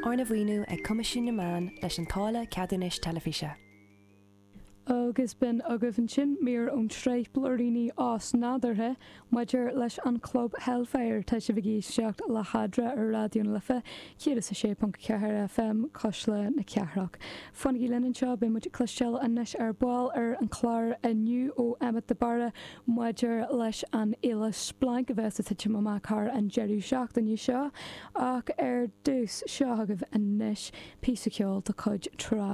Arna mhaoiniú ag Coimisiún na Meán leis an táille ceadúnais teilifíse. Agus b'in agaibh ansin mír ón tsraith Blúiríní Osnádúrtha maidir leis an Chlub Hellfire. Tá sibh ag éisteacht le hEadra ar Raidió na Life 106.4 FM, Cuisle na Cathrach. Fanaigí linn anseo, beidh muid ag cloisteáil anois ar ball ar an chlár inniu ó Emmet de Barra maidir leis an fhéile Splanc a bheas ag titim amach thar an deireadh seachtaine seo. Ach ar dtús, seo agaibh anois píosa ceoil de chuid Trá.